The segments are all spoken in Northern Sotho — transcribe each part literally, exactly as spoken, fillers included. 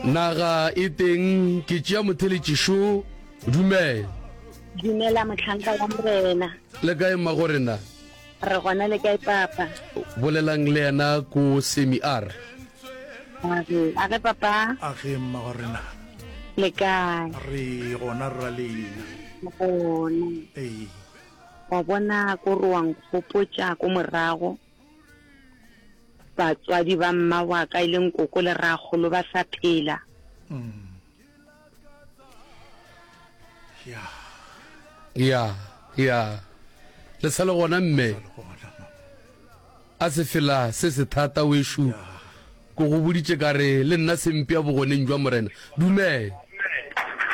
Naga e teng, ke tšea motheletši šo. Dumela. Dumela mohlanka wa Morena. Le kae mmagorena? Re gona, le kae papa? Bolelang le yena ko Semi R. Age, age papa. Age mmagorena. Le kae? Re gona rra lena. Gona. Ee. Wa bona ko re wa nkgopotša ko morago. Batswadi ba mma wa ka e leng koko le rakgolo ba sa phela. Mm. Ya. Ya, ya. Le sa le gona mme. Sa le gona mama. A sefela se se thata wešo. Ko go boditše ka re le nna se mpea bogoneng jwa Morena. Dumela.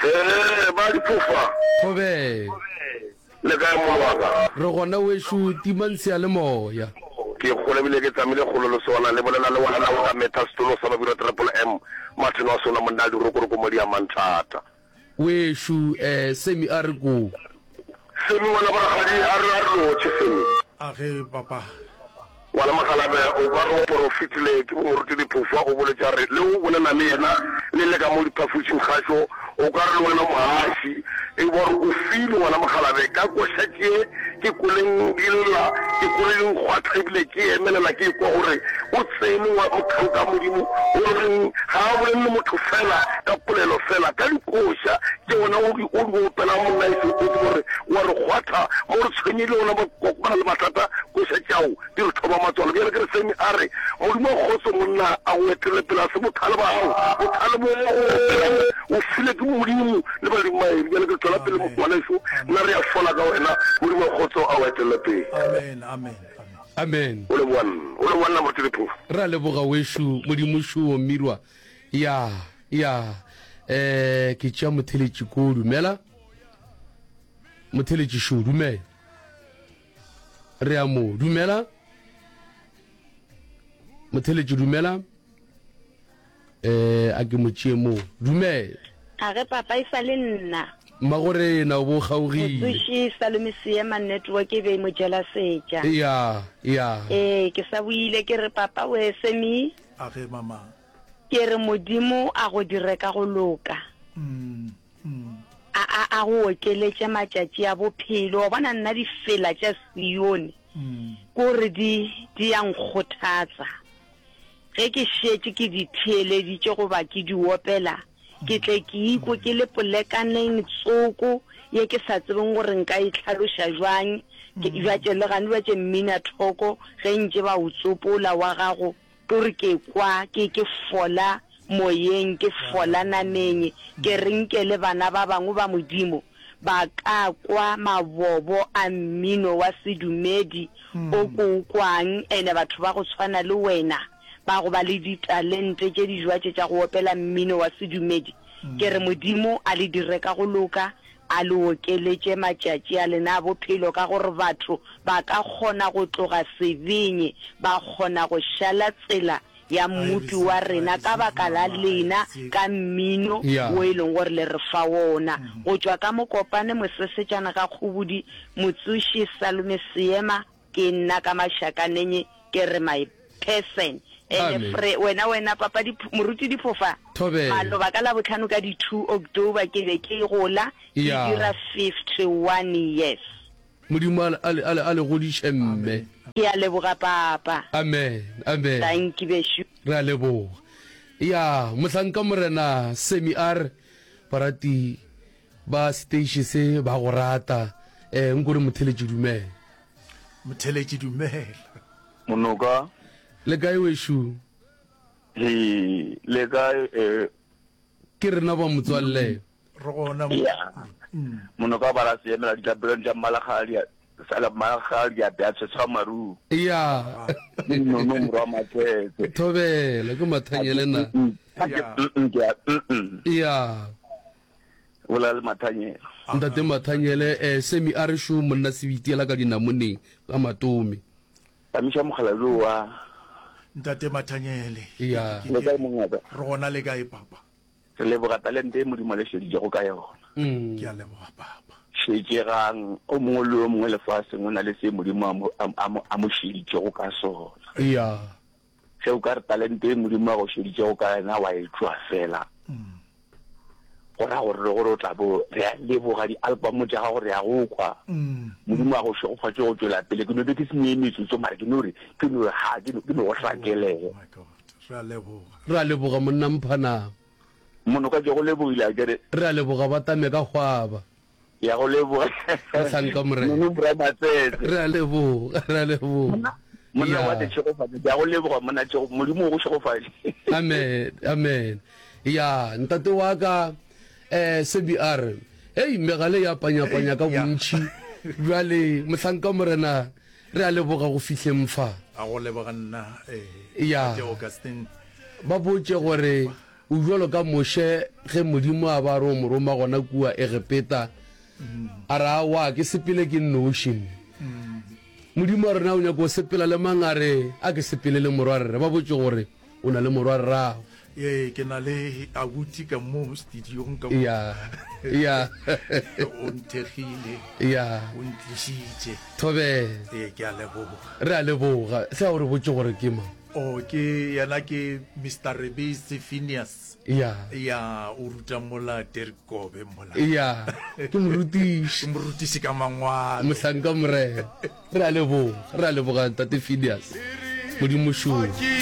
Ee, ba diphofa. Thobela. Le kae mong wa ka? Re gona wešo, timang seyalemoya. Ke kgole ebile ke tsamile kgolo le sona. Le bolela le ngwana o ka metha setulo sa Babirwa Triple M, Martin wa sona monna a dirokoroko mo di amang thata. Wešo, eh, Sammy a re ko. Sammy ngwana borakgadi a re a re lotšhe Sammy. A ge papa. Ngwana Mokgalabje o ka re o porofetile ke bo Moruti Diphofa o boletše a re le o bolela le yena le le ka mo diphafošing kgašo o ka re le wena mohaši e bo re o file ngwana Mokgalabje ka koša tše ke kweleng di lla ke kwele di nkgwatha ebile ke emelela ke ekwa gore o tsene wa mohlanka Modimo o reng ga a bolelele motho fela ka polelo fela ka dikoša tše wena o di o di opelang monna e se o tsebe gore wa re kgwatha mo re tshwenyegile gona ba kopana le mathata koša tšao di re thoba matswalo. Bjale ke re Sammy a re, Modimo wa kgotso monna a go etele pele, a se bothale ba gago, bothale bo o opelang o file ke Modimo le badimo ba eno. Bjale ke re tšwela pele ngwaneso, nna re a fola ka wena, Modimo wa kgotso a go etele pele. Amen, amen, amen. Amen. O leboga nna, o leboga nna Moruti Lephofu. Re a leboga wešu, Modimo šoo Mmirwa. Ya, ya. Eh, ke tšea motheletši ko, dumela. Motheletši šoo, dumela. Re a mo dumela. Motheletši dumela. Eh, a ke mo tšee mo. Dumela. A ge papa e sa le nna. Mmagorena o bo kgaogile. Motsoši Salome Seema network e be e mo jela setša. Ya, ya. Ee, ke sa boile ke re papa we Semi. A ge mama. Ke re Modimo a go dire ka go loka. Mm. A, a, a go okeletše matšatši a bophelo. Wa bona, nna difela tša Sione, ke gore di, di a nkgothatsa. Ge ke šetše ke di theeleditše goba ke di opela, ke tle ke ikwe ke le polekaneng tsoko ye ke sa tsebeng gore nka e hlaloša bjang. Ke, bjatše le gane bjatše mminathoko ge ntše ba o tsopola wa gago, Ke gore ke kwa ke, ke fola moyeng, ke fola nameng, ke re nke le bana ba bangwe ba Modimo ba ka kwa mabobo a mmino wa sedumedi o ke o kwang, ene batho ba go tshwana le wena ba go ba le ditalente tše di jwatše tša go opela mmino wa sedumedi. Ke re Modimo a le dire ka go loka, a le okeletše matšatši a lena a bophelo, ka gore batho ba ka kgona go tloga sebeng, ba kgona go šala tsela ya Mmopi wa rena ka baka la lena ka mmino wo e leng gore le re fa wona. Go tšwa ka Mokopane, Mosesetšana ga Kgobodi, Motsoši Salome Seema, Ke nna ka mašakaneng ke re my person. Ene fre wena wena papa di moruti Diphofa maloba ka Labohlano ka di two October ke be ke gola ke dira fifty one years. Modimo a le a le godiše mme. Ke a leboga papa. Amen amen. Dankie bešo. Re a leboga. Ya mohlanka Morena Sammy a re barati ba seteiše se ba go rata. Eh nko re motheletši dumela. Motheletši dumela. Monoka. Le kae wešu? He, le kae eh? Ke rena ba motswalle. Re gona. Ya. Monoka ba ra se emela ditlapelong tša Mmalakgadi sala Mmalakgadi a bea tshwetshwa maru. Ya. Nono morwa Matsetse. Thobela ke Mathanyele na. Ya. Ya. Bolela le Mathanyele. Ntate Mathanyele, eh, Semi a re šo monna sebiti ela ka dinamoneng ka matome. Tamiša mogala yo wa. Ntate Mathanyele. Ya. Le kae mongaka? Re gona le kae papa? Re leboga talente e Modimo a le šeditšego ka yona. Ke a leboga papa. Šetšegang, o mongwe le o mongwe lefaseng o na le se Modimo a mo, a mo, a mo šeditšego ka sona. Ya. Ge o ka re talente e Modimo a go šeditšego ka yona wa e tšwa fela, Go ra gore le gore o tla bo re a leboga di-album tša gago re a go kwa. Modimo a go šegofatše go tšwela pele. Ke no be ke se nee metsotso mara ke no re ke no re ha ke no ke no go hlakelela. My God, re a leboga. Re a leboga monna Mphanama. Monoka ke go lebogile a kere. Re a leboga ba tame ka hwaba. Ke a go leboga. Mohlanka Morena. Mono Bra Matsetse. Re a leboga, re a leboga. Monna, monna wa tšhegofatšo, ke a go leboga monna tšego, Modimo o go šegofatše. Amen, amen. Ya, ntate wa ka eh Sebi a re, hei megale ya panyapanya ka bontši. Bjale mohlanka Morena re a leboga go fihleng fa. A go leboga nna eh Ya. Ntate Augustine. Ba botše gore O bjalo ka Moshe ge Modimo a ba a re o mo roma gona kua Egepeta, a re, Aowa, ke sepele ke nnoši. Modimo a re, Na o nyaka go sepela le mang? A re, A ke sepele le morwarre. Ba botše gore o na le morwarrago. Ee, ke na le abuti ka mo studiong ka mo. Ya, ya. O nthekgile. Ya. O ntlišitše. Thobela. Ee, ke a leboga. Re a leboga. Hle a o re botše gore ke mang. Oh, ke yena ke Mister Rebese Phineas. Ya. Ya, o ruta mola Terkobe mola. Ya, ke morutiši. Ke morutiši ka mangwalo. Mohlanka Morena. Re a leboga, re a leboga Ntate Phineas. Modimo šoo.